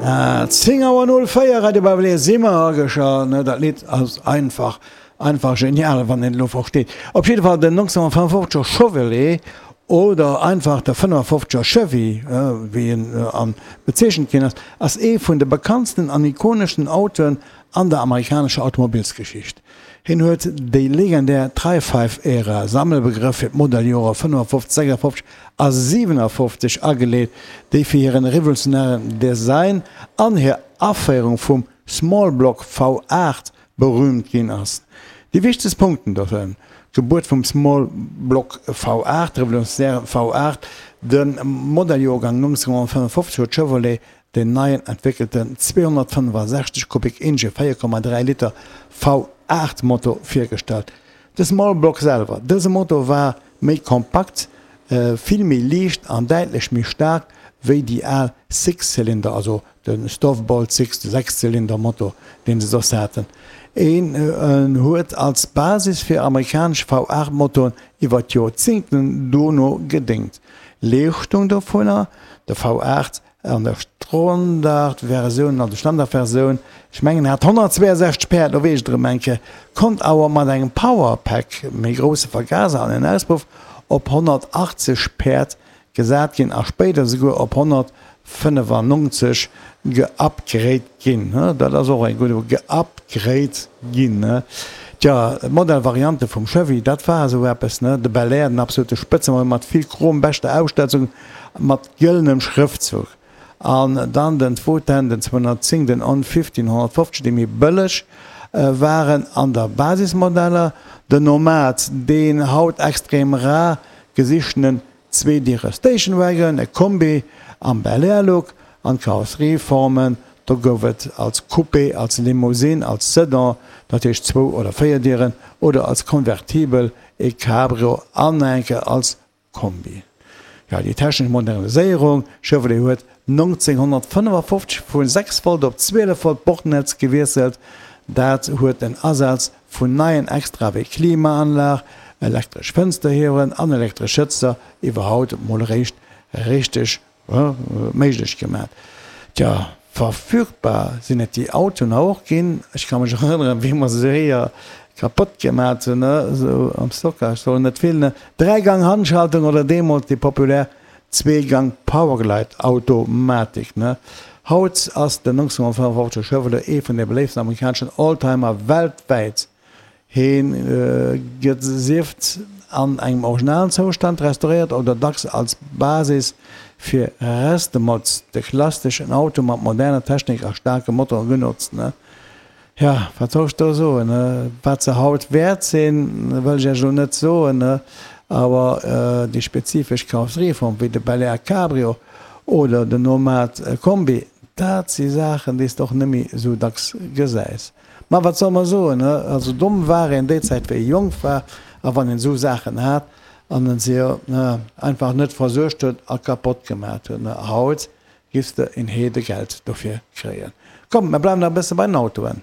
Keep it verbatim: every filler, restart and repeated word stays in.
Zéng Auer null véier, Radio Bavelé si mer ageschalt. Ne, dat Lidd ass einfach, einfach genial, wann een et elo versteet. Op jidde Fall den nonzénhonnertfënnefofzeger Chevrolet oder einfach de fënnefofzeger Chevy, wéi en an bezeechent ginn ass, ass ee vun de bekanntsten an ikoneschsten Autoen an der amerikanescher Automobilsgeschicht. Hien huet déi legendär Tri-Five-Ära, Sammelbegrëff fir d'Modelljore fënnefofzeg, sechsafofzeg a siwenafofzeg, ageleet, déi fir hiren revolutionären Design an hir Aféierung vum Small-Block V aacht berüümt ginn ass. Déi wichtegst Punkten dovun, D'Gebuert vum Small-Block V aacht, revolutionären V aacht, De Modelljoergang nonzénhonnertfënnefofzeg huet Chevrolet Den neien entwéckelten zweehonnertfënnefasechzeg Kubik Inge véier Komma dräi Liter V aacht Motor virgestallt. De Small Block selwer, dëse Motor war méi kompakt, vill méi liicht an däitlech méi staark wéi déi al Six-Cylinder, also de Stovebolt Six, de Sechszylinder-Motor, deen se soss haten. En huet als Basis fir amerikanesch V aacht Motoren iwwer d'Joerzéngten dono gedéngt. Leeschtung dovunner, de V aacht An der Standardversioun, also Standardversioun, ech mengen hat honnertzweeënsechzeg Päerd, lo weess ech et erëm eng Kéier, konnt awer mat engem Powerpack, méi grousse Vergaser an en Auspuff, op honnertachtzeg Päerd gesat ginn a spéider souguer op honnertfënnefannonzeg geupgrade ginn. Dat ass och eng gutt, geupgrade ginn. Tja, d'Modellvariante vum Chevy, dat war esou eppes, ne? De Bel Air, den absolute Spëtzemodell mat vill Chrom, beschter Ausstatzung, mat gëllenem Schrëftzuch. An dann den Two-Ten, den zweehonnertzéng, den On Fifteen, honnertfofzeg, déi méi bëlleg waren an der Basismodeller. Den Nomad, deen haut extrem rar gesichtenen Zweedierer Station Wagon, e Kombi am Bel Air Look. An d'Karosserieformen, do gouf et als Coupé, als Limousine, als Sedan, dat heescht zwou oder véier Dieren, oder als Convertibel, e Cabrio an enke als Kombi. Jo, déi technesch Moderniséierung, Chevrolet huet nonzénhonnertfënnefafofzeg vu sechs Volt op zwielef Volt Bordnetz gewiesselt. Dat huet den Asaz vun neien Extrae wéi Klimaanlag, elektresch Fënsterhieweren an elektresch Sëtzer iwwerhaut mol eréischt richteg méiglech gemat. Tja, verfügbar sinn et déi Autoen och ginn. Ech ka mech erënneren, wéi mer se séier kapott gemat hunn, esou am Stockage, sollen net vill, ne? Dräigang Handschaltung oder deemools déi populär Zweegang Powerglide Automatik, ne? Haut ass den nonzénhonnertfënnefofzeg Chevrolet ee vun de beléiftsten amerikaneschen Oldtimer weltwäit. Hee gëtt sief an engem originalen Zoustand restauréiert oder dacks als Basis fir Restomods, de klasseschen Auto mat moderner Technik a staarkem Motor, genotzt. Jo, wat soll ech do soen? Wat se haut wäert sinn, wëll ech Iech elo net soen, awer déi spezifesch Karosserieform wéi de Bel Air Cabrio oder den Nomad Kombi, dat si Saachen, déi s de och net méi esou dacks gesäis. Ma wat soll mer soen, he? Also domm war een déi Zäit wéi ee jonk war a wann een esou Saachen hat an en se jo einfach net versuergt huet a kapott gemat huet. Haut giffs de een Heedegeld dofir kréien. Komm, mer bleiwen nach e bësse bei den Autoen.